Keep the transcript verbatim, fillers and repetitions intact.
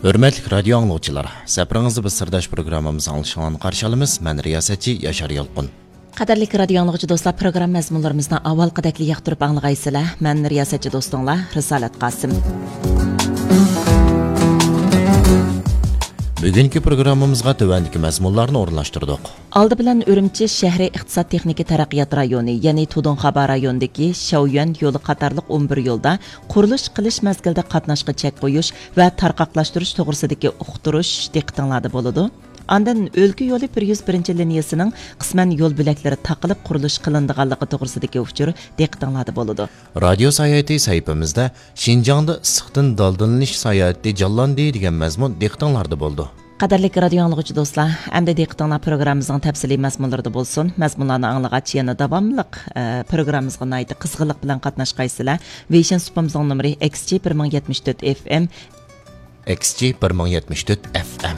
ھۆرمەتلىك رادىيو ئاڭلىغۇچىلار، سەپىرىڭىزدە بىز سىرداش پروگراممىمىزنى ئاڭلىشىڭلارنى قارشى ئالىمىز. مەن رىياسەتچى ياشار يالقۇن. قەدىرلىك رادىيو ئاڭلىغۇچى دوستلار، پروگرامما مەزمۇنلىرىمىزنى ئاۋۋالقىدەكلا ياقتۇرۇپ ئاڭلىغايسىلەر. مەن رىياسەتچى دوستۇڭلار رىسالەت قاسىم. بۈگۈنكى پروگراممىمىزغا تۆۋەندىكى مەزمۇنلارنى ئورۇنلاشتۇردۇق. ئالدى بىلەن ئۈرۈمچى شەھىرى ئىقتىساد تېخنىكا تەرەققىيات رايونى، يەنى تۇدۇڭخابا رايونىدىكى شياۋيۈەن يولى قاتارلىق ئون بىر يولدا قۇرۇلۇش قىلىش مەزگىلىدە قاتناشقا چەك قويۇش ۋە تارقاقلاشتۇرۇش توغرىسىدىكى ئۇقتۇرۇش دىققىتىڭلاردا بولىدۇ. ئاندىن ئۆلكە يولى بىر يۈز بىرىنچى لىنىيىسىنىڭ قىسمەن يول بۆلەكلىرى تاقىلىپ قۇرۇلۇش قىلىنىدىغانلىقى توغرىسىدىكى ئۇچۇر دىققىتىڭلاردا بولىدۇ. رادىيو ساياھىتى سەھىپىمىزدە شىنجاڭدا ئىسسىقتىن دالدىلىنىش ساياھىتى جانلاندى دېگەن مەزمۇن دىققىتىڭلاردا بولىدۇ. قەدىرلىك رادىيو ئاڭلىغۇچى دوستلار، ئەمدى دىققىتىڭلار پروگراممىمىزنىڭ تەپسىلىي مەزمۇنلىرىدا بولسۇن. مەزمۇنلارنى ئاڭلىغاچ يەنە داۋاملىق، ئە، پروگراممىمىزغا ناھايىتى قىزغىنلىق بىلەن قاتناشقايسىلەر. ۋېيشىن سۇپىمىزنىڭ نومۇرى ئېكس جى بىر مىڭ يەتمىش تۆت ئېف ئېم. ئېكس جى بىر مىڭ يەتمىش تۆت ئېف ئېم.